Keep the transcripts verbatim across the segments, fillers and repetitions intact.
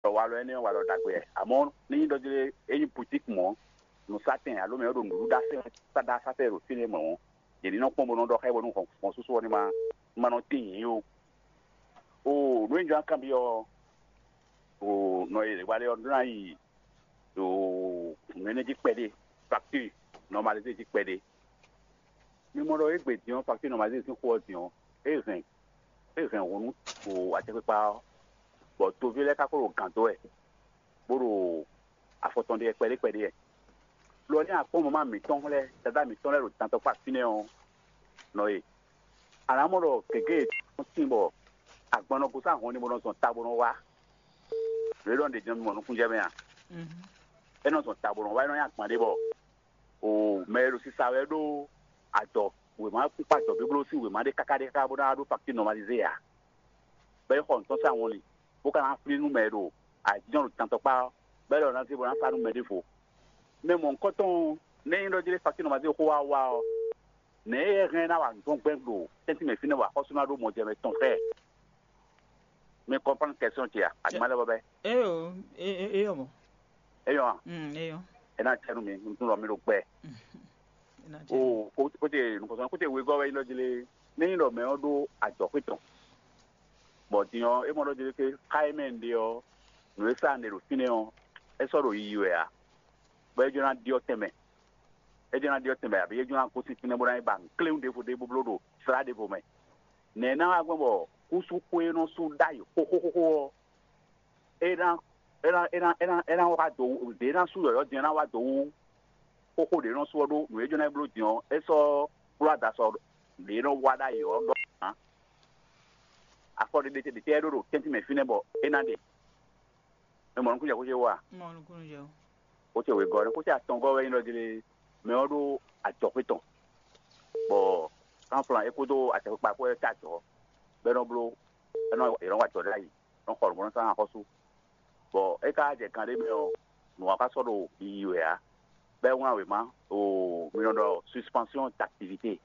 Walɔ énɛ́ ɔ́, walɔ ɖagbe wɛ. Amɔ̌, ní nyí ɖɔ jlé é nyí boutique mɔ̌, nǔsátɛn alo mɛ e ɖo nǔɖuɖu ɖa sɛn ɖa sátɛn ɖo fínɛ́ mɔ̌ ɔ́, yě ní nɔ kpɔ́n bó nɔ́ ɖɔ xá bónú hɔn súsú ɔ́ ní ma ma nɔ tín yǐ ó. O nǔ e jɔ́n kanbyɔ́ ɔ́, o nɔ e wa lɛ ɔ́ ɖó ná yi o nǔ énɛ́ jí kpɛɖé, facture normalisé jí kpɛɖé. Mi mɔ ɖɔ égbé din ɔ́, facture normalisé sín xó ɔ́ din ɔ́, é hɛn é hɛn hǔn nú o acɛkpikpa ɔ́, bɔ toví lɛ́ɛ ka ko ɖo gǎn dó wɛ, bó ɖo afɔ tɔn ɖe wɛ kpɛɖé kpɛɖé wɛ. Lo ɔ́, ní akpɔ́n mama mǐtɔn lɛ́ɛ, dadá mǐtɔn lɛ́ɛ ɖo dantɔkpá fínɛ́ ɔ́, nɔ e a nǎ mɔ ɖɔ gěgé e tɔn sín bɔ agban nɔ gosín ahɔn ní bó nɔ zɔn ta bó nɔ wá. Lě ɖɔ ɖě jɛ́n mɔ nukúnjɛ mɛ a? É nɔ zɔn ta bó nɔ wá, é nɔ nyi agban ɖé bɔ o mɛ e ɖo sisa wɛ ɖó adɔ wěma kpíkpá adɔ bíbló sín wěma ɖé káká ɖé káká bó ná wá ɖó faktír nɔmalizé ǎ. Bɔ é xɔ nǔtɔn sín awɔnlin, bó ka ná flín nú mɛ e ɖo ayǐjínjɔ́n ɖo tantɔkpá ɔ́, bɔ é ɖɔ ná zé bó ná sa nú mɛ ɖěvo. Mɛ mɔ̌hunkɔtɔn ɔ́, nɛ́ nyí ɖɔ jlé faktír nɔmalizé xó wá wá ɔ́, nɛ̌ é hɛn ná wa nǔ tɔn gbɛn ɖo tɛ́ntin mɛ fínɛ́ bɔ axɔ́sú ná ɖó mɔjɛmɛ tɔn xá ɛ? Mi kɔnpɔn kɛsɔn ce a? Adi ma lɛ bɔ bɛ. Eyo, e- e- eyɔ mɔ. Eyɔ a? Mm, eyɔ. E na cɛ nu mi, n tun lɔ mi ɖo gbɛ. E na cɛ nu. O o o te nukɔsɔn ko te wegɔ wɛ yi lɔ jele. Ne yi lɔ mɛ ɔ ɖo adzɔxwe tɔn. Bɔ din ɔ, e mɔ lɔ jele ke xa e mɛ n ɖe ɔ, nu e sa n ɖe ɖo fínɛ́ ɔ, e sɔ ɖo yiyi wɛ a? Bɔ e jɔ na ɖiɔ tɛnmɛ. E jɔ na ɖiɔ tɛnmɛ abi e jɔ na gosín fínɛ́ bó ná yi ba nǔkléwún ɖěvo ɖé bó bló ɖo slá ɖěvo mɛ. Nɛ̌ ná wá gbɔn bɔ kúsú xwé nɔ sú ɖ'ayǐ xóxóxóxó ɔ́, é ná é ná é ná é ná é ná wá dó wú ɖě ná sú yɔ̌yɔ́ din é ná wá dó wú xóxó ɖě nɔ sú ɔ́ ɖó nǔ e jɔ́n ná é bló din ɔ́, é sɔ́ bló adasɔ ɖě nɔ wá ɖ'ayǐ ɔ́ ɖɔ ǎ. Afɔ ɖé ɖé ɖé tɛ́ ɖó ɖo tɛ́ntin mɛ fínɛ́ bɔ é ná ɖe. Mɛ mɔ nukúnjɛ xó ce wá? Mɔ nukúnjɛ o. Xó ce wěgɔ́ nɛ́, xó ce atɔngɔ́ wɛ nyí ɖɔ jlé mɛ ɔ́ ɖó ajɔxwé tɔn, bɔ kánflan é kpódó acɛkpikpa kpó é ká ajɔ̌, bɔ é nɔ bló é nɔ è nɔ wa ajɔ̌ ɖ'ayǐ, nɔ xɔ nǔ bó nɔ sán axɔ́sú. Bɔ é ka jɛ kan ɖé mɛ ɔ́, nǔ ɔ́ ka sɔ́ ɖo yiyi wɛ ǎ, bɔ é wlán wěma ɖo mi nɔ ɖɔ suspension d'activité,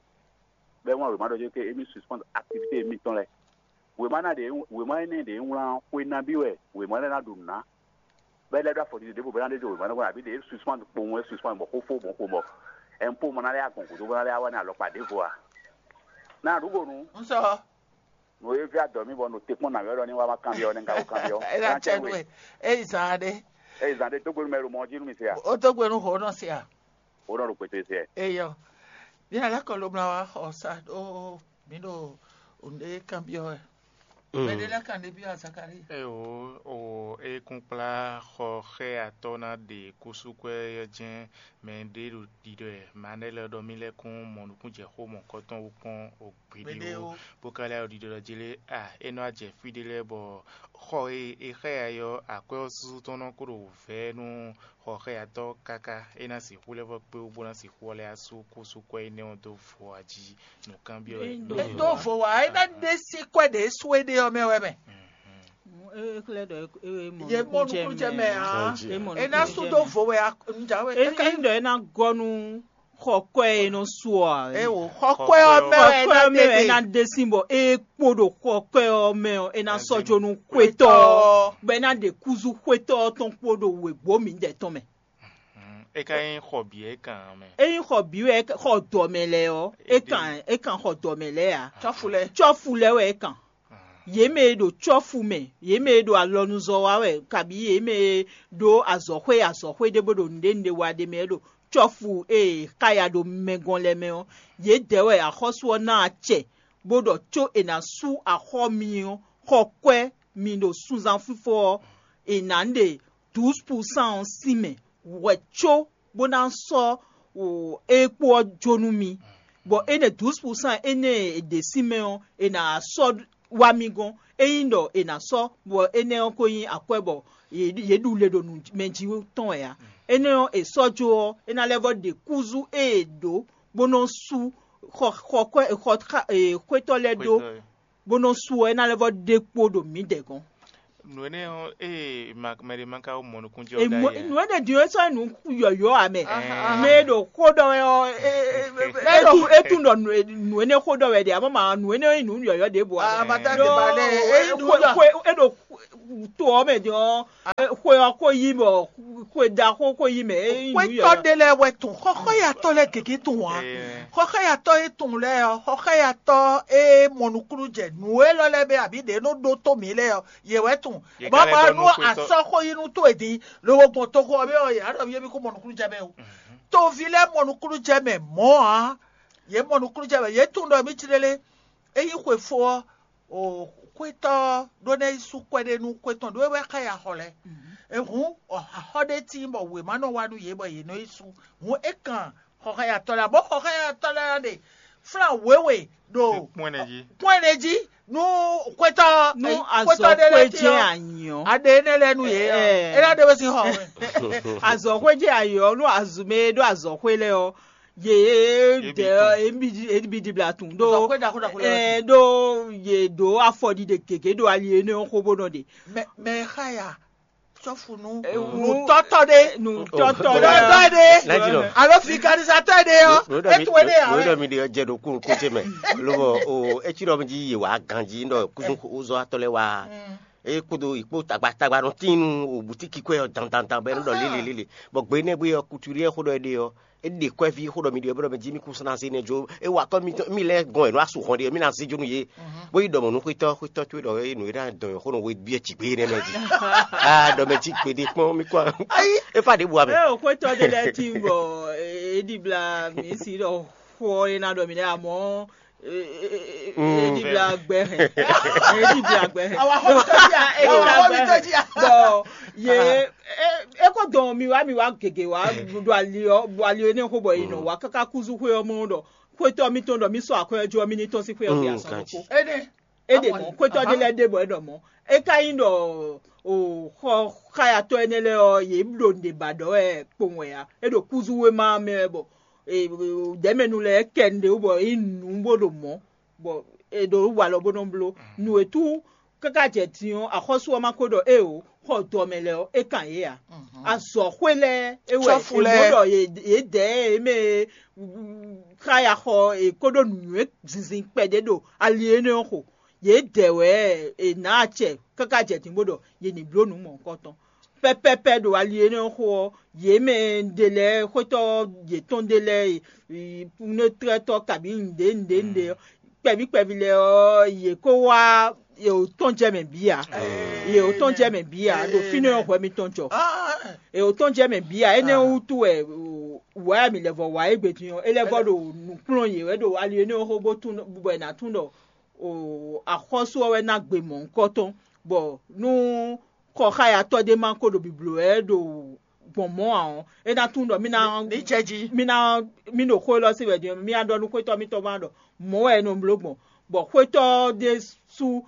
bɔ é wlán wěma ɖɔ jɛ́n ké émí suspend activité émítɔn lɛ́ɛ. Wěma ná ɖě wěma énɛ́ ɖě wlán xwe nabí wɛ wěma lɛ́ɛ ná ɖo nǔ ná, bɔ é lɛ́ ɖó afɔ ɖiɖe ɖěvo bɔ é ná ɖe dó wěma lɛ́ɛ, àbí ɖě suspend kpowun wɛ suspend bɔ xófó gbɔn xomɔ, ɛnpó ma ná lɛ́ agɔn gǔdo bó ná lɛ́ wá ní alɔkpa ɖěvo a? Ná ɖǔ gonu. Ŋsɔ. Nǔ e vɛ́ adɔ mì bɔ nɔ te kpɔ́n nǎwɛ ɖɔ ní wá má kanbyɔ́ nɛ́ ká wó kanbyɔ́. É ná cɛ nú we. É yi zan ɖé. É yi zan ɖé dó gbe nú mɛ ɖo mɔ jí nú mi se a? Ó dó gbe nú hǒ nɔ se a? Hǒ nɔ ɖo kpɛtɛ se. Eyɔ. Bí alá kɔ ló mla wá xɔ sa ɖó mǐ ɖo nǔɖé kanbyɔ́ wɛ. Mɛ ɖé lɛ́ɛ kan ɖé byɔ́ Azakali. Eo, o e kún kplá xɔ xɛ atɔ́ ná ɖe kúsúkwɛ́ ɔ́ jɛ́n mɛ ɖé ɖo ɖiɖɔ ɛ, mɛ lɛ́ɛ ɖɔ mì lɛ́ kún mɔ nukúnjɛxó mɔ̌kɔtɔn wú kpɔ́n o gbeɖé ó, bó ka lɛ́ ɖo ɖiɖɔ jí lé a, é nɔ wá jɛ fí ɖé lɛ́ɛ bɔ xɔ e è xá ɛ ɔ́, akwɛ́ ɔ́ súsú tɔn nɔ kó ɖo vɛ̌ nú xɔxɛyatɔ́ káká é ná sixú lɛ́ vɔ́ kpé wú bó ná sixú ɔ́ lɛ́ wá sú kúsúkwɛ́ énɛ́ ɔ́ dó vo jí nǔkanbyɔ́ wɛ. É dó vo wá, é ná ɖe sí kwɛ́ ɖě sú é ɖe ɔ́ mɛ wɛ mɛ. É xlɛ́ ɖɔ é mɔ Ye mɔ nukúnjɛ nukúnjɛ mɛ mɛ ǎ. É mɔ É ná nukúnjɛ sú dó mɛ. Vo wɛ a- ŋjà wɛ É é ká é ɖɔ é ná gɔ́ nú xɔ kwɛ́ e nɔ su ɔ ǎ. É wò xɔ kwɛ́ ɔ́ mɛ wɛ é ná Xɔ kwɛ́ ɔ́ mɛ wɛ é ná ɖe. Dé sín bɔ é kpo ɖo xɔ kwɛ́ ɔ́ mɛ ɔ́, é ná sɔ́ jó nú xwétɔ́ ɔ́, bɔ é ná ɖe kúzú xwétɔ́ ɔ́ tɔn kpó ɖo wěgbó mǐdɛɛ tɔn mɛ. É ka nyí xɔ bǐ é kan mɛ. Ényí xɔ bǐ wɛ é ka- xɔ dɔ̌ mɛ lɛ́ɛ ɔ́, é kan é kan xɔ dɔ̌ mɛ lɛ́ɛ ǎ. Cɔ́fu lɛ́ɛ. Cɔ́fu lɛ́ɛ wɛ é kan. Yě mɛ e ɖo cɔ́fu mɛ, yě mɛ e ɖo alɔnuzɔ́ wa wɛ, kabǐ yě mɛ e ɖó azɔ̌xwé azɔ̌xwé ɖé bó ɖo nǔɖé nǔɖé wa ɖé mɛ é ɖo cɔ́fu e è xáya ɖo mɛ gɔn lɛ́ɛ mɛ ɔ́, yědɛɛ wɛ axɔ́sú ɔ́ ná acɛ, bó ɖɔ có è nǎ sú axɔ́ mi ɔ́, xɔ kwɛ́ mi ɖo sunzán fífó ɔ́, è nǎ ɖe douze pour cent ɔ́ sín mɛ hwɛ̌ có bó ná sɔ́ é kpó ɔ́ jó nú mi, bɔ énɛ́ douze pour cent énɛ́ e è ɖe sín mɛ ɔ́, è nǎ sɔ́ wá mì gɔ́n. Ényí ɖɔ è nǎ sɔ́, bɔ énɛ́ ɔ́ ko nyí akwɛ́ bɔ yě ɖu le ɖo nǔ mɛ jí tɔn wɛ ǎ. Énɛ́ ɔ́, è sɔ́ jó ɔ́, é ná lɛ́ vɔ́ ɖe kúzú e è ɖǒ bó nɔ́ sú xɔ xɔ kwɛ́ xɔ xwétɔ́ lɛ́ɛ ɖó, bó nɔ su ɔ́, é ná lɛ́ vɔ́ ɖe kpo ɖo mǐdɛɛ gɔ́n. Nǔ énɛ́ ɔ́, ée ma- mɛ ɖé ma ka wó mɔ nukúnjɛ ɔ́ ɖ'ayǐ ǎ. Nǔ énɛ́ din ɔ́, é sɔ́ nyi nǔ yɔ̌yɔ́ ǎ mɛ. Mɛ e ɖo xó ɖɔ wɛ ɔ́, é- é- é- é- é tún- é tún ɖɔ nǔ é- nǔ énɛ́ xó ɖɔ wɛ ɖe, àmọ́ mǎ nǔ énɛ́ ɔ́ nyí nǔ yɔ̌yɔ́ ɖěbǔ ǎ. Àmọ́ tá a ti ba lɛ́, é nyí nǔ Xó- yɔ́. Xó- é ɖo to ɔ́ mɛ din ɔ́, xwe ɔ́ xó yí bɔ xwe ɖaxó xó yí mɛ. Xwétɔ́ ɖé lɛ́ɛ wɛ tunwun, xɔxɔ́yatɔ́ lɛ́ɛ gěgé tunwun ǎ. Xɔxɔ́yatɔ́ e tunwun lɛ́ɛ ɔ́, xɔxɔ́yatɔ́ e mɔ nukúnnú jɛ nǔ élɔ́ lɛ́ɛ mɛ abǐ ɖě nɔ ɖótó mǐ lɛ́ɛ ɔ́, yě wɛ tunwun. Bɔ ma nú asɔ́ xó yí nú towe din, lobo gbɔn toxo ɔ́ mɛ ɔ́, yě á ɖɔ mì émí kó mɔ nukúnnú jɛ mɛ o. Toví lɛ́ɛ mɔ nukúnnú jɛ mɛ mɔ̌ ǎ. Yě mɔ nukúnnú jɛ mɛ, yě tunwun ɖɔ mǐ ci lélé. Ényí xwe fó ɔ́, o xwétɔ́ ɖó ná yi sú kwɛ́ ɖé nú xwé tɔn ɖó é wɛ xá ya xɔ lɛ́ɛ. Hǔn axɔ́ ɖé tíin bɔ wěma nɔ wa nú yě bɔ yě nɔ yi sú. Hǔn é kan xɔxɔ́yatɔ́ lɛ́ɛ, bɔ xɔxɔ́yatɔ́ lɛ́ɛ ná ɖe flán wěwe ɖo kpɔ́n ɛnɛ jí nú xwétɔ́. Nú azɔ̌ xwé jɛ anyi ɔ́, aɖe énɛ́ lɛ́ɛ nú yě ɔ́, é ná ɖe wé sín xɔ. Azɔ̌ xwé jɛ anyi ɔ́, nú azɔ̌ mɛ e ɖó azɔ̌ xwé lɛ́ɛ ɔ́, yě dɛ ɔ́, yě bǐ ɖibla tun ɖó. Azɔ̌ xwé ɖaxó ɖaxó lɛ́ɛ ɔ́, ɖó yě ɖó afɔɖiɖe gěgé ɖo ali énɛ́ ɔ́ xó bó nɔ ɖe. Mɛ mɛ e xá ya cɔ́fu nú nǔtɔ́tɔ́ ɖé, nǔtɔ́tɔ́ ɖé, alo fikanizatɔ́ ɖé ɔ́, é towe ɖé ǎ. Wéɖɔ mi ɖe jɛ ɖo kúrukú ce mɛ, lobɔ o etí ɖɔ mi jí yě wá ganjí ɖɔ kúzɔ́tɔ́ lɛ́ɛ wá. É kpódó yě kpó tagbatagba nɔ tín nú o bǔtíki kwɛ́ ɔ́ dandandan bɔ é nɔ ɖɔ lélelélele, bɔ gbe énɛ́ gbe ɔ́, kutuli e xó ɖɔ é ɖe ɔ́, é ɖe kwɛ́ví xó ɖɔ mi ɖe ɔ́, bɔ mɛ jí mì kún ná zé nɛ́ jó. É wa kɔ́ mitɔn mì lɛ́ɛ gɔn è nɔ wá su hɔn ɖe ɔ́, mì ná zé jó nú yě. Bó yi ɖɔ mɔ̌ nú xwétɔ́, xwétɔ́ towe ɖɔ é nǔ e ná dɔn xó nɔ we byɔ́ jǐgbé énɛ́ mɛ jí. Aa ɖɔ mɛ jí gbeɖé kpɔ́n mì kɔn. É fa ɖěbǔ ame. Ée xwétɔ́ ɖé lɛ́ɛ tín bɔ é ɖibla mǐ si ɖɔ xó ɔ́ é ná ɖɔ mǐ lɛ́ɛ amɔ̌ é ɖibla gbɛ hɛn. É ɖibla gbɛ hɛn. Awa xɔ mi tɔ́ jí a? Awa xɔ mi tɔ́ jí a? Bɔ yě é kó dɔn mi wá mi wá gěgé wá ɖo ali ɔ́ ɖo ali ɔ́ énɛ́ xó bɔ è nɔ wá káká kúzú xwé ɔ́ mɔ ɖɔ xwétɔ́ mitɔn ɖɔ mì sɔ́ akwɛ́ ɔ́ jó ɔ́ mì ní tɔ́n sín xwé ɔ́ gbe azɔn ɖokpó. É ɖe mɔ̌, xwétɔ́ ɖé lɛ́ɛ ɖe bɔ é ɖɔ mɔ̌. É ka nyí ɖɔ o xɔ xáyatɔ́ énɛ́ lɛ́ɛ ɔ́, yě ɖo nǔɖé ba ɖɔ wɛ kpowun wɛ ǎ. É ɖo kúzú wéma ɔ́ mɛ wɛ bɔ dɛ̌mɛnu lɛ́ɛ kɛ nǔɖé wú bɔ é nyí nǔ bó ɖo mɔ̌, bɔ è ɖo walɔ bó nɔ bló. Nǔ e tú káká jɛ din ɔ́, axɔ́sú ɔ́ ma ko ɖɔ éeǒ, xɔ dɔ mɛ lɛ́ɛ ɔ́, é kan yě ǎ. Azɔ̌xwé lɛ́ɛ é wɛ Cɔ́fu è mɔ lɛ́ɛ. Ɖɔ yě yě dɛ é mɛ e xá ya xɔ è ko ɖó nǔnywɛ́ zinzin kpɛɖé ɖo ali énɛ́ ɔ́ xo. Yě dɛ wɛ è nǎ acɛ káká jɛ din bó ɖɔ yě ní bló nǔ mɔ̌hunkɔtɔn. Pɛ́pɛ́pɛ́ ɖo ali énɛ́ ɔ́ xo ɔ́, yě mɛ ɖé lɛ́ɛ xwétɔ́ yětɔn ɖé lɛ́ɛ e nɔ́tlɛ́tɔ́ kabǐ nǔɖé nǔɖé nǔɖé ɔ́, kpɛví kpɛví lɛ́ɛ ɔ́, yě kó wá yě wǒ tɔn jɛ mɛ bǐ ǎ. Yě wǒ tɔn jɛ mɛ bǐ ǎ, ɖo fínɛ́ ɔ́ hwɛ mitɔn jɔ. Yě wǒ tɔn jɛ mɛ bǐ ǎ, énɛ́ wútu wɛ wǎ mǐ lɛ́ vɔ wǎ égbé din ɔ́, é lɛ́ vɔ ɖo nǔ kplɔ́n yě wɛ ɖo ali énɛ́ ɔ́ xó bó tún bɔ è nǎ tún ɖɔ axɔ́sú ɔ́ wɛ ná gbe mɔ̌hunkɔtɔn, bɔ nú xɔxáyatɔ́ ɖé ma ko ɖo bǐbló wɛ ɖo gbɔn mɔ̌ ǎ ɔ́, é ná tunwun ɖɔ mí ná ní jɛ jí. Mí ná mí ɖo xó élɔ́ sí wɛ din ɔ́, mí ná ɖɔ nú xwétɔ́ mítɔn gban ɖɔ mɔ̌ wɛ é nɔ bló gbɔn, bɔ xwétɔ́ ɖésú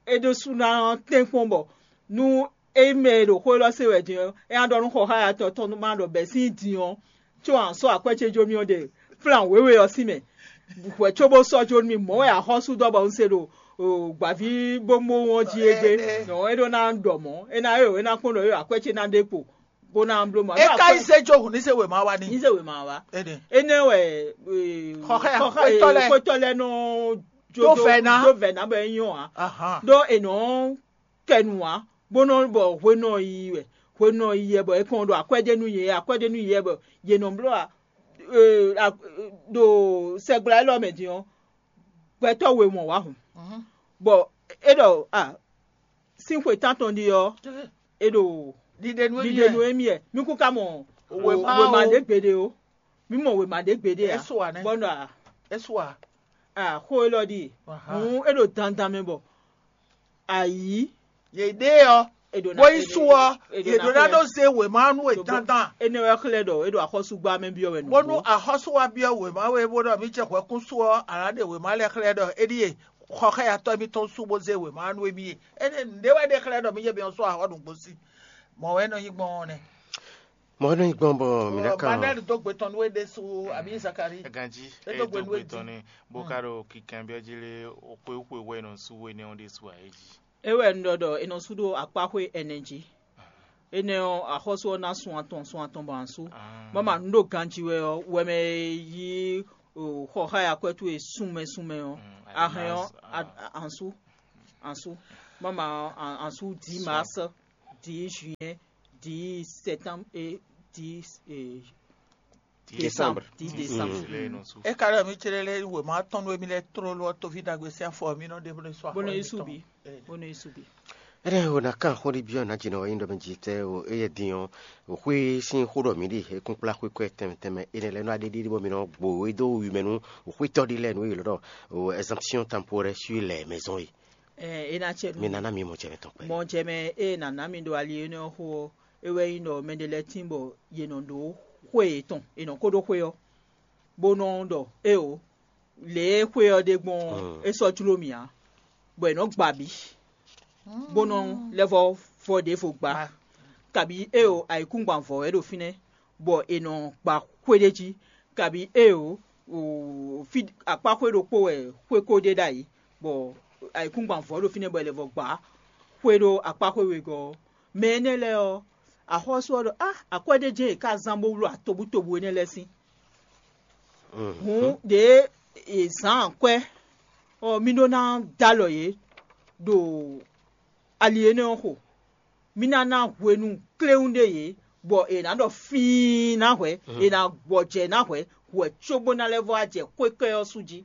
é ɖésú ná tɛ́nkpɔ́n bɔ nú é mɛ e ɖo xó élɔ́ sí wɛ din ɔ́, é ná ɖɔ nú xɔxáyatɔ́ tɔn má ɖɔ bɛ̌ sín din ɔ́, có a sɔ́ akwɛ́ ce jó mì ɔ́ ɖe flan wěwe ɔ́ sín mɛ. Hwɛ̌ cóbó sɔ́ jó nú mì, mɔ̌ wɛ axɔ́sú dɔ́ bɔ un se ɖo gbǎví bóbówú ɔ́ jí égbé. Nɔ̌ é ɖó ná ɖɔ mɔ̌, é ná é é ná kpɔ́n ɖɔ é akwɛ́ ce ná ɖe kpo bó ná bló mɔ̌. É ka yi zé jó hǔn ní se wěma wá ní. Ní se wěma wá. Énɛ́ wɛ Xɔxɛ, xɔxɛ xwétɔ́ lɛ́ɛ. Xwétɔ́ lɛ́ɛ nɔ jó Tó vɛ̌ ná. Dó vɛ̌ ná bɔ é nyɔ́ ǎ. Ahán. Ɖó è nɔ kɛ nǔ ǎ, bó nɔ bɔ hwenu ɔ́ yiyi wɛ, hwenu ɔ́ yiyi wɛ bɔ è kɔn ɖo akwɛ́ ɖé nú yě, akwɛ́ ɖé nú yě wɛ bɔ yě nɔ bló a, ɖo sɛgbla élɔ́ mɛ din ɔ́, gbɛtɔ́ we mɔ wǎ hǔn, bɔ é ɖɔ a sín xwe tántɔn ɖi ɔ́, é ɖo Ɖiɖe nú ɖiɖe nú émí wɛ, mí kún ka mɔ Wěma wěma o. Ɖé gbeɖé o, mí mɔ wěma ɖé gbeɖé ǎ. Bɔ ɖɔ a É su a? A xó élɔ́ ɖíe. Hǔn é ɖo dandan mɛ bɔ ayǐ Yě ɖe ɔ́, è ɖǒ ná bó yí su ɔ́, è ɖǒ yě ná ɖó ná xlɛ́ ɖó zé wěma ɔ́ nú we ɖó dandan. Énɛ́ wɛ xlɛ́ ɖɔ é ɖo axɔ́súgbá mɛ byɔ́ wɛ nǔgbó. Bónú axɔ́sú wá byɔ́ wěma we bó ɖɔ mì ce hwɛkúsú ɔ́, a nǎ ɖe wěma lɛ́ɛ xlɛ́ ɖɔ éɖíe xɔxɛ́yatɔ́ mitɔn sú bó zé wěma ɔ́ nú émí e. Énɛ́ nǔɖé wɛ ɖe xlɛ́ ɖɔ mì ce mì ɔ́ sú axɔ́ nǔgbó sí. Mɔ̌ wɛ é nɔ nyí gbɔn ɔ́ nɛ́. Mɔ̌ nɔ nyí gbɔn bɔ mǐ ná kan Manuel dó gbe tɔn nú we ɖésú abǐ Zakari. Ganjí É é dó gbe dó nú gbe éjì. Tɔn ní bó ká ɖo kinkanbyɔ́ jí lé xwé xwe wɛ nɔ sú we nɛ́ ɔ́ ɖésú ǎ é jí. É wɛ un ɖɔ ɖɔ è nɔ sú ɖó akpáxwé ɛnɛ jí. Énɛ́ ɔ́, axɔ́sú ɔ́ ná sun atɔn sun atɔn bɔ ansú. Mama nǔ ɖo ganjí wɛ ɔ́, wɛmɛ e yí xɔxáya kwɛ́ towe sunmɛ sunmɛ ɔ́, ahɛn ɔ́, ansú. Ansú. Mama, en, en sous dix mars, dix juin, dix septembre et dix, euh, décembre. Dix décembre. Mm. É ka ɖɔ mì céɖé lɛ́ɛ wěma tɔn nú émí lɛ́ɛ tlóló ɔ́, toví ɖagbe sín afɔ mì nɔ ɖe bó nɔ yi sú axɔ Bó nɔ yi émítɔn. Sú bí. Bó nɔ yi sú bí. Énɛ́ o ná kan xó ɖi byɔ́ nǎ jǐ nɔ wá nyí ɖɔ mɛ jǐ tɛ́ o, éyɛ́ din ɔ́, o xwé sín xó ɖɔ mǐ ɖe é kún kplá xwé kɔ́ tɛnmɛ tɛnmɛ énɛ́ lɛ́ɛ nɔ wá ɖéɖé bɔ mǐ nɔ gbo é dó wi mɛ nú o xwétɔ́ ɖé lɛ́ɛ nú é ylɔ́ ɖɔ o exemption temporaire sur les maisons é. Ɛ, é ná cɛ nú Mi ná ná mi mɔ jɛ mɛ tɔn kpɛɖé. Mɔ jɛ mɛ e nǎ ná mi ɖo ali énɛ́ ɔ́ xó ɔ́, é wɛ nyí ɖɔ mɛɖé lɛ́ɛ tín bɔ yě nɔ ɖó xwé yětɔn, è nɔ ko ɖó xwé ɔ́, bó nɔ ɖɔ éeǒ, lě e xwé ɔ́ ɖe gbɔn ɔ́, é sɔ́ jló mì ǎ, bɔ è nɔ gba bǐ, bó nɔ lɛ́ vɔ vɔ ɖěvo gbá, kabǐ éeǒ, ayǐkúngban vɔ̌ wɛ ɖo fínɛ́, bɔ è nɔ gba xwé ɖé jí, kabǐ éeǒ, fí akpáxwé ɖokpó wɛ xwé ko ɖe ɖ'ayǐ, bɔ ayǐkúngban vɔ̌ ɖo fínɛ́ bɔ è lɛ́ vɔ gbǎ xwé ɖó akpáxwé wegɔ́ ɔ́. Mɛ énɛ́ lɛ́ɛ ɔ́, axɔ́sú ɔ́ ɖɔ á akwɛ́ ɖé jɛ́n è ká zán bó wlú atobútobu énɛ́ lɛ́ɛ sín. Hǔn ɖěe è zǎn akwɛ́ ɔ́, mì ɖó ná dó alɔ yě ɖo ali énɛ́ ɔ́ xo. Mì ná ná hwenu kléwún ɖé yě, bɔ è nǎ ɖɔ fíin ná hwɛ̌, è nǎ gbɔjɛ́ ná hwɛ̌, hwɛ̌ cóbó ná lɛ́ vɔ wá jɛ xwékɛ́ ɔ́ sú jí.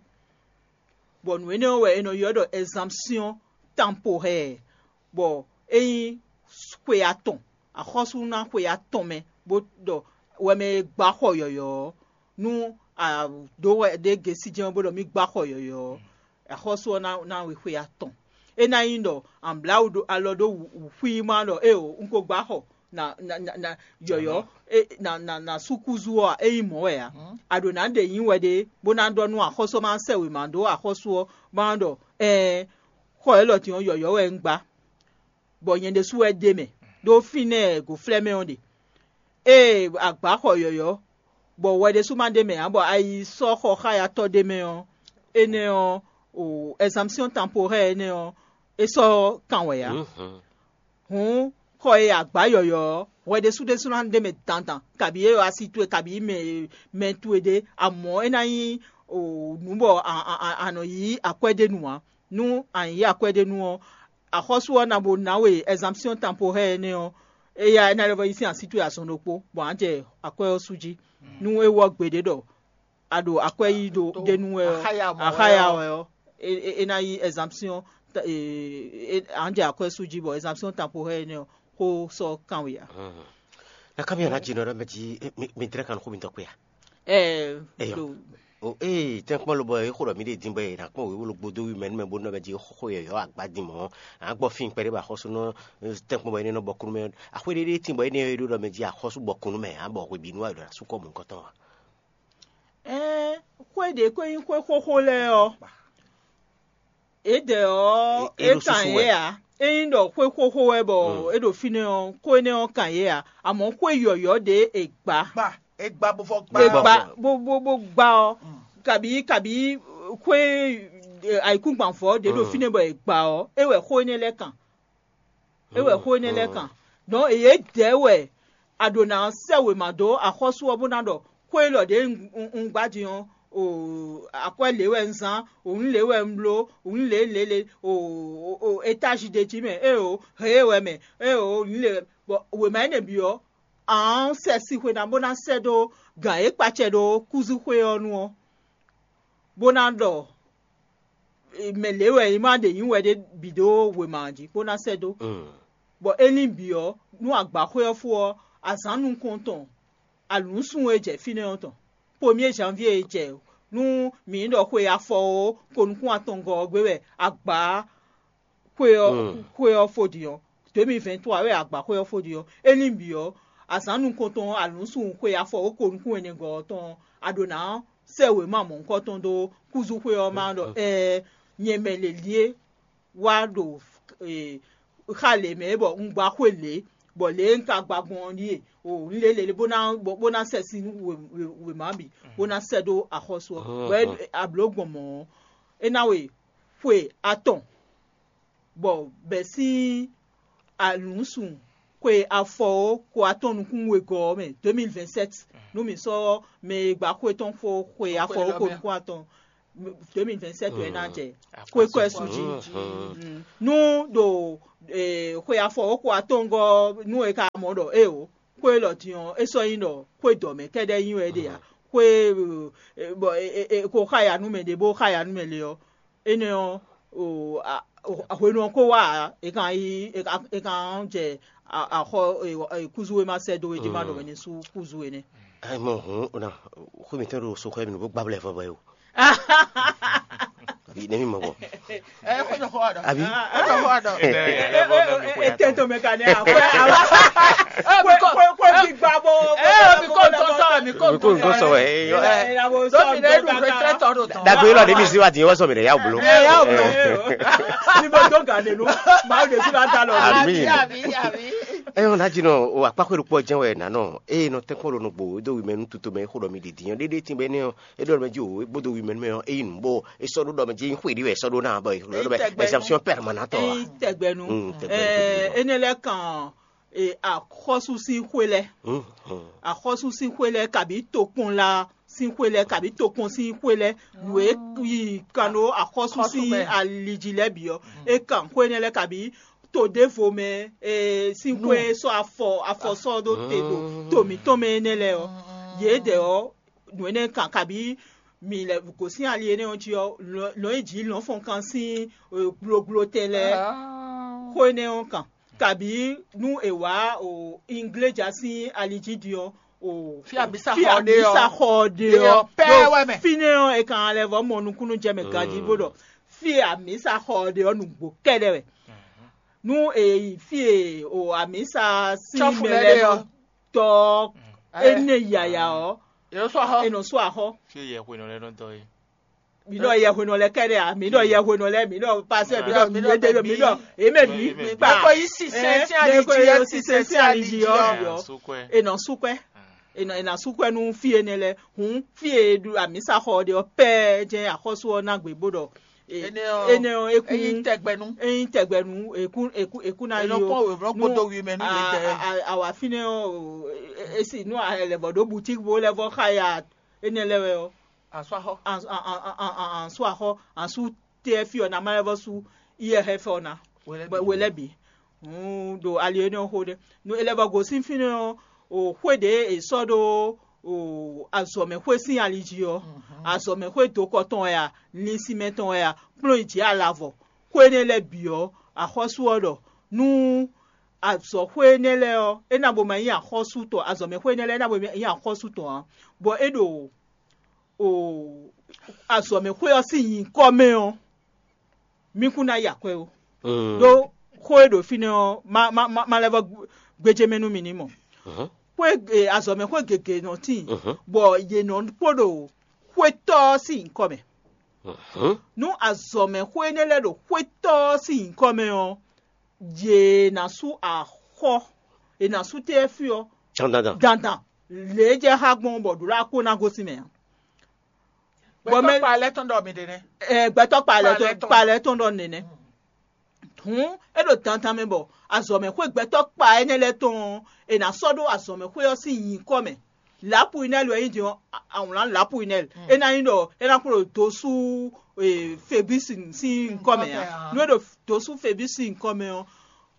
Bɔ nǔ énɛ́ ɔ́ wɛ è nɔ ylɔ́ ɖɔ ɛzanpsyɔ́n tanpohɛɛ, bɔ é nyí xwe atɔn, axɔ́sú ná xwe atɔn mɛ, bó ɖɔ wɛ mɛ e gbá xɔ yɔ̌yɔ́ ɔ́, nú a ɖǒ hwɛ ɖé gesí jɛ́n ɔ́, bó ɖɔ mì gbá xɔ yɔ̌yɔ́ ɔ́, axɔ́sú ɔ́ ná ná we xwe atɔn. É ná nyí ɖɔ a blǎ wǔ ɖó alɔ ɖó wǔxwíí má ɖɔ éeǒ, un ko gbá xɔ na na na na yɔ̌yɔ́, é na na na súkúzú ɔ́ ǎ, é nyí mɔ̌ wɛ ǎ. A ɖǒ ná ɖe nyǐ wɛ ɖé, bó ná ɖɔ nú axɔ́sú ɔ́ má sɛ́ wěma dó axɔ́sú ɔ́, má ɖɔ ɛɛn, xɔ élɔ́ din ɔ́, yɔ̌yɔ́ wɛ un gbá, bɔ nyɛ ɖésú wɛ ɖ'é mɛ, ɖó fínɛ́ e gǒflɛ́mɛ ɔ́ ɖe. Ée a gbǎ xɔ yɔ̌yɔ́, bɔ hwɛ ɖésú ma ɖ'é mɛ ǎ, bɔ a yi sɔ́ xɔ xáyatɔ́ ɖé mɛ ɔ́, énɛ́ ɔ́, o ɛzanpsyɔ́n tanpohɛ́ énɛ́ ɔ́, é sɔ́ kan wɛ ǎ. Hǔn xɔ e a gbǎ yɔ̌yɔ́ ɔ́, hwɛ ɖésú ɖésú ná ɖ'é mɛ dandan, kabǐ é asi towe, kabǐ mɛ mɛ towe ɖé, amɔ̌ é ná nyí nǔ bɔ a nɔ yí akwɛ́ ɖé nu ǎ. Nú a nyǐ akwɛ́ ɖé nu ɔ́, axɔ́sú ɔ́ ná bo ná we ɛzanpsyɔ́n tanpohɛ́ énɛ́ ɔ́, éyá é ná lɛ́ vɔ yí sín así towe azɔn ɖokpó, bɔ a nǎ jɛ akwɛ́ ɔ́ sú jí. Nú é wɔ́ gbeɖé ɖɔ a ɖo akwɛ́ yí ɖo ɖé nu wɛ ɔ́, axáya wɛ ɔ́, é ná yí ɛzanpsyɔ́n, a nǎ jɛ akwɛ́ sú jí, bɔ ɛzanpsyɔ́n tanpohɛ́ énɛ́ ɔ́, xó sɔ́ kanwe ǎ. Na ká mi ɔ́ ná jínɔ ɖɔ mɛ jí mi dlɛ́ kan nú xó mitɔn kpé a? Ɛɛ, Eyɔ. Ɖo O ee, tɛ́nkpɔ́n lobɔ e xo ɖɔ mǐ ɖe din bɔ è nǎ kpɔ́n wěwé ló gbódó wí mɛ nú mɛ bónú ɔ́ mɛ jí xó yɔ̌yɔ́ agbá din mɔ̌, a nǎ gbɔ fín kpɛɖé bɔ axɔ́sú nɔ tɛ́nkpɔ́n bɔ énɛ́ nɔ bɔ kúnú mɛ. Axwé ɖé ɖé tín bɔ énɛ́ e ɖó ɖɔ mɛ jí axɔ́sú bɔ kúnú mɛ, a bɔ hwebǐnu wɛ ɖo asú kɔ mɔ̌hunkɔtɔn ǎ. Ɛɛ, xwé ɖě ko nyí xwé xóxó lɛ́ɛ ɔ́, é dɛ ɔ́, É- é é ɖo kan susu yě wɛ. Ǎ. É nyí ɖɔ xwé xóxó wɛ bɔ é ɖo fínɛ́ ɔ́, xó énɛ́ ɔ́ kan yě ǎ. Amɔ̌ xwé yɔ̌yɔ́ ɖě è gbǎ. Gba, e gba bó fɔ gba. È Gbá. Gbá bó bó bó gbá ɔ́, kabǐ kabǐ xwé ayǐkúngban vɔ̌ ɖě ɖo fínɛ́ bɔ è gbǎ ɔ́, é wɛ xó énɛ́ lɛ́ɛ kan. É wɛ xó énɛ́ lɛ́ɛ kan. Dɔn yě dɛ̌ wɛ a ɖǒ ná sɛ́ wěma dó axɔ́sú ɔ́ bó ná ɖɔ xó élɔ́ ɖě un gbá din ɔ́, o akwɛ́ lě wɛ un zán, o nǔ lě wɛ un bló, o nǔ lě lě lě, o o étázi ɖé jí mɛ, é o hě wɛ mɛ, é o nǔ lě wɛ. Bɔ wěma énɛ́ bǐ ɔ́, ǎ sɛ sixwe ná bó ná sɛ́ dó gǎn e kpacɛ ɖó kúzúxwé ɔ́ nu ɔ́, bó ná ɖɔ mɛ lě wɛ è ma ɖe nyǐ wɛ ɖé bǐ dó wěma ɔ́ jí bó ná sɛ́ dó. Bɔ é lín bǐ ɔ́, nú agbǎxwé ɔ́ fó ɔ́, azǎn nukɔntɔn alǔnsun e jɛ fínɛ́ ɔ́ tɔn, pomié janvier e jɛ nú mǐ ɖɔ xwe afɔ ó, ko nukún atɔngɔ́ ɔ́ gbé wɛ agbǎ xwe ɔ́ xwe ɔ́ fó din ɔ́, deux mille vingt-trois wɛ agbǎxwé ɔ́ fó din ɔ́, é lín bǐ ɔ́, azǎn nukɔntɔn alǔnsun xwe afɔ ó ko nukún ɛnɛgɔ́ ɔ́ tɔn ɔ́, a ɖǒ ná sɛ́ wěma mɔ̌hunkɔtɔn dó kúzúxwé ɔ́ má ɖɔ ɛɛ nyɛ mɛ lě lié wá ɖo xa lě mɛ bɔ un gba xwé lě, bɔ lě e un ka gba gbɔn ɔ́ ɖíe o un lě lě bó ná bó ná sɛ sín wěma bǐ bó ná sɛ dó axɔ́sú ɔ́ bɔ a blǒ gbɔn mɔ̌ ɔ́, é ná we xwe atɔn bɔ bɛ̌ sín alǔnsun xwe afɔ ó ko atɔn nukún wegɔ́ ɔ́ mɛ deux mille vingt-sept nú mǐ sɔ́ mɛ e gba xwé tɔn fó xwe afɔ ó ko nukún atɔn deux mille vingt-sept wɛ ná jɛ xwé kɔ́ ɛ sú jí. Nú ɖo xwe afɔ wǒ xo atɔ́ngɔ́ nú è ka mɔ ɖɔ éeǒ, xwé élɔ́ din ɔ́, é sɔ́ nyí ɖɔ xwé dɔ̌ mɛ kɛ́ɖɛ́ nyí wɛ é ɖe ǎ. Xwé bɔ è ko xá ya nú mɛ ɖé bó xá ya nú mɛ lě ɔ́, énɛ́ ɔ́, hwenu ɔ́ ko wá ǎ, è kan yi è kan jɛ axɔ kúzú e ma sɛ́ dó é jí ma ɖɔ mɛ ní sú kúzú énɛ́. Ayi mɔ hǔn o na xwé mǐtɔn ɖo soxɔ mi nǔ bó gbá blɛ́ vɔ bɔ é o. Abi ne mi mɔ bɔ. Ɛ kó jɔ xɔ wa dɔ. Abi. Kó jɔ xɔ wa dɔ. Etɛn to mɛ ka ne akwɛ awa. Kó kó kó gbígbá bɔ. Ɛ mi kó ntɔ sɔ mi kó Kó ntɔ sɔ ɛ yɔ. Lómi ne ɖu fɛ tɔ ɖo tɔ. Dagbe lɔ de mi si wa di wɔ sɔ mi de ya blo. Ɛ ya blo. Ni bɔ dɔn gan de nu. Maa de si la da lɔ. Ami. Ɛ yɔ na dzi nɔ o akpa xwe ɖokpɔ jɛn wɛ nanɔ eye nɔ tɛnkpɔn ɖo nugbo do wi mɛ nu tuto mɛ xo ɖɔ mi ɖiɖi yɔ ɖeɖe tin bɛ ne ɔ e ɖɔ mɛ dzi o e gbódo wi mɛ nu mɛ ɔ e yi nu bɔ e sɔ ɖo ɖɔ mɛ dzi xwe ɖi wɛ e sɔ ɖo na bɔ e ɖɔ bɛ exemption permanente ɔ. Eyi tɛgbɛnu. Mm, tɛgbɛnu. Ɛɛ, enɛ lɛ kan e, axɔ́sú sín xwé lɛ́ɛ. Axɔ́sú sín xwé lɛ́ɛ kabǐ tokpɔnla sín xwé lɛ́ɛ kabǐ tokpɔn sín xwé lɛ́ɛ nǔ e yi kan ɖó axɔ́sú sín ali jí lɛ́ɛ bǐ ɔ́, é kan xwé énɛ́ lɛ́ɛ kabǐ to ɖěvo mɛ e, sín xwé sɔ́ afɔ afɔ sɔ́ ɖó te ɖo to mǐtɔn mɛ énɛ́ lɛ́ɛ ɔ́, yědɛɛ ɔ́, nǔ énɛ́ kan kabǐ mi lɛ gosín ali énɛ́ ɔ́ jí ɔ́, lɔ̌n e jǐ lɔ̌nfɔnkan sín gblogblo tɛn lɛ́ɛ xó énɛ́ ɔ́ kan. Kabǐ nú è wǎ ingléja sín ali jí din ɔ́, o Fí amǐsa fí xɔ ɔ́ ɖe ɔ́, amǐsa xɔ ɔ́ ɖe ɖe ɔ́ ɔ́, pɛ́ ɖo wɛ mɛ. Fínɛ́ ɔ́, è kan lɛ́ vɔ́ mɔ nukúnnú jɛ mɛ ganjí bó ɖɔ fí e amǐsa xɔ ɔ́ ɖe ɔ́, nǔgbó kɛ́ɖɛ́ wɛ. Nú è yi fí e o amǐsa sín Cɔ́fu mɛ lɛ́ɛ lɛ́ɛ ɖe nɔ ɔ́. Dɔ Ɛ. Énɛ́ yaya ɔ́, Yǒ sɔ xɔ. È nɔ sú axɔ́. Fí e yɛ xwe nɔ lɛ́ nɔ dɔ é. Mi ɖɔ yɛhwenɔ lɛ kɛɖɛ a? Mi ɖɔ yɛhwenɔ lɛ, mi ɖɔ pasɛ, mi ɖɔ mi ɖɔ mi ɖɔ eme mi. Mɛ kɔ yi si sɛn sín ali jí ɔ́, si sɛn sín ali jí ɔ́, Sukwe. E nɔ sukwe, e nɔ e na sukwe nú fí énɛ́ lɛ. Hǔn fí e ɖu amǐsaxɔ ɖe ɔ́ pɛ́ jɛ́n axɔ́sú ɔ́ ná gbě bó ɖɔ Énɛ́ ɔ́, énɛ́ ɔ́, é kún é nyí tɛgbɛnú. É nyí tɛgbɛnú, é kún é kún é kún ná È nɔ yi kpɔ́n wěwlɔ́ kpódó wi mɛ nú yě tɛ. Awǎ fínɛ́ ɔ́, e si nú a lɛ vɔ ɖó butík bó lɛ vɔ xa ya énɛ́ lɛ́ɛ wɛ ɔ́. Asú axɔ. Ansú axɔ, ansú tɛ fí ɔ́ ná má lɛ́ vɔ sú iyɛ xɛ fɛ ɔ́ ná. We lɛ́ bǐ. We lɛ́ bǐ. Hǔn ɖo ali énɛ́ ɔ́ xó ɖé. Nú é lɛ́ vɔ gosín fínɛ́ ɔ́, o xwé ɖě è sɔ́ ɖó o azɔ̌mɛxwé sín ali jí ɔ́, azɔ̌mɛxwé dokɔ tɔn wɛ a, linsinmɛ tɔn wɛ a, kplɔ́n yi jǐ alavɔ. Xwé énɛ́ lɛ́ɛ bǐ ɔ́, axɔ́sú ɔ́ ɖɔ nú azɔ̌xwé énɛ́ lɛ́ɛ ɔ́, é ná bo ma nyí axɔ́sú tɔn, azɔ̌mɛxwé énɛ́ lɛ́ɛ é ná bo ma nyí axɔ́sú tɔn ǎ, bɔ é ɖo o azɔ̌mɛxwé ɔ́ sín nyǐkɔ mɛ ɔ́, mí kún ná yi akwɛ́ ó. Ɖó xó e ɖo fínɛ́ ɔ́, má má má má lɛ́ vɔ gbéjé mɛ nú mi ní mɔ. Xwé e azɔ̌mɛxwé gěgé nɔ tíin, bɔ yě nɔ kpó ɖo xwétɔ́ ɔ́ sín nyǐkɔ mɛ. Nú azɔ̌mɛxwé énɛ́ lɛ́ɛ ɖo xwétɔ́ ɔ́ sín nyǐkɔ mɛ ɔ́, yě ná sú axɔ́, è nǎ sú tɛ́ fí ɔ́ Dandan. Dandan. Lě e jɛ xá gbɔn bɔ ɖǒ ɖo akó ná gosín mɛ ǎ. Bɔ mɛ- Gbɛtɔ́ kpa lɛ́ tɔn ɖɔ mi ɖe nɛ́. Ɛ, gbɛtɔ́ kpa lɛ Kpa lɛ tɔn tɔn. Kpa lɛ tɔn ɖɔ nɛnɛ. Hǔn é ɖo dandan mɛ bɔ azɔ̌mɛxwé gbɛtɔ́ kpa énɛ́ lɛ́ɛ tɔn ɔ́, è nǎ sɔ́ ɖó azɔ̌mɛxwé ɔ́ sín nyǐkɔ mɛ. Lapuinɛli wɛ nyí din ɔ́, awlǎn lapuinɛli. É ná nyí ɖɔ é ná kplɔ́n dó sú Febísi sín nyǐkɔ mɛ ǎ. Nú é ɖo dó sú Febísi sín nyǐkɔ mɛ ɔ́,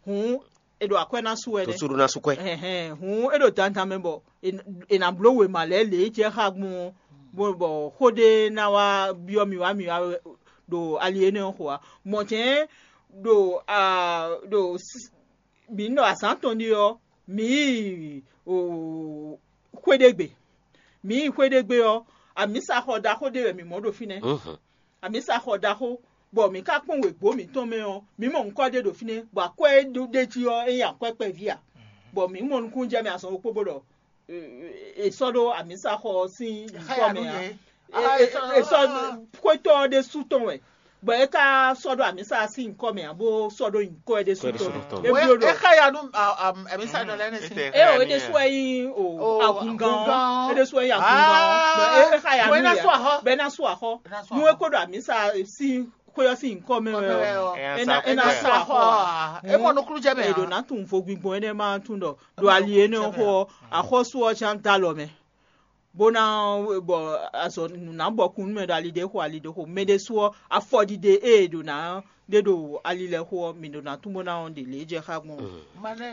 hǔn è ɖo akwɛ́ ná sú wɛ nɛ́. Tosúɖó ná sú kwɛ́. Ɛhɛn, hǔn é ɖo dandan mɛ bɔ è nǎ bló wěma lɛ́ɛ lě e jɛ xá gbɔn ɔ́, bɔ xó ɖé ná wá byɔ́ mì wá mì wá ɖo ali énɛ́ ɔ́ xo ǎ. Mɔ̌ jɛ́n ɖo ɖo mǐ ɖɔ azǎn tɔn ɖi ɔ́, mǐ yi xwé ɖé gbe. Mǐ yi xwé ɖé gbe ɔ́, amǐsaxɔ ɖaxó ɖé wɛ mǐ mɔ ɖo fínɛ́. Amǐsaxɔ ɖaxó, bɔ mǐ ka kpɔ́n wěgbó mǐtɔn mɛ ɔ́, mǐ mɔ ŋkɔ́ ɖé ɖo fínɛ́, bɔ akwɛ́ e ɖó ɖ'é jí ɔ́, é nyí akwɛ́ kpɛví ǎ. Bɔ mǐ mɔ nukúnnú jɛ mɛ azɔn ɖokpó bó ɖɔ è sɔ́ ɖó amǐsaxɔ ɔ́ sín nyǐkɔ mɛ ǎ. È sɔ́ xwétɔ́ ɔ́ ɖésú tɔn wɛ, bɔ é ka sɔ́ ɖó amǐsa sín nyǐkɔ mɛ ǎ, bó sɔ́ ɖó nyǐkɔ ɛ ɖésú tɔn mɛ. É bló ɖɔ é xa ya nú amǐsa ɖɔ lɛ́ɛ nɛ́ sín. É o é ɖésú wɛ nyí o agungán, é ɖésú wɛ nyí agungán. É xa ya nú yɛ bɛ ná sú axɔ. Nú é kó ɖo amǐsa sín xwé ɔ́ sín nyǐkɔ mɛ wɛ ɔ́, é ná é ná sú axɔ. É mɔ nukúnnú jɛ mɛ. È ɖǒ ná tunwun vo gbingbɔn énɛ́ ma tún ɖɔ ɖo ali énɛ́ ɔ́ xó ɔ́, axɔ́sú ɔ́ ján dó alɔ mɛ. bó ná bɔ azɔ nǔ ná bɔ kún nú mɛ ɖo ali ɖé xo ali ɖé xo mɛ ɖé sú ɔ́, afɔɖiɖe e è ɖo ná ɖe ɖo ali lɛ́ɛ xo ɔ́, mǐ ɖo ná tún bó ná ɔ́ ɖe lě jɛ xá gbɔn. Malɛ.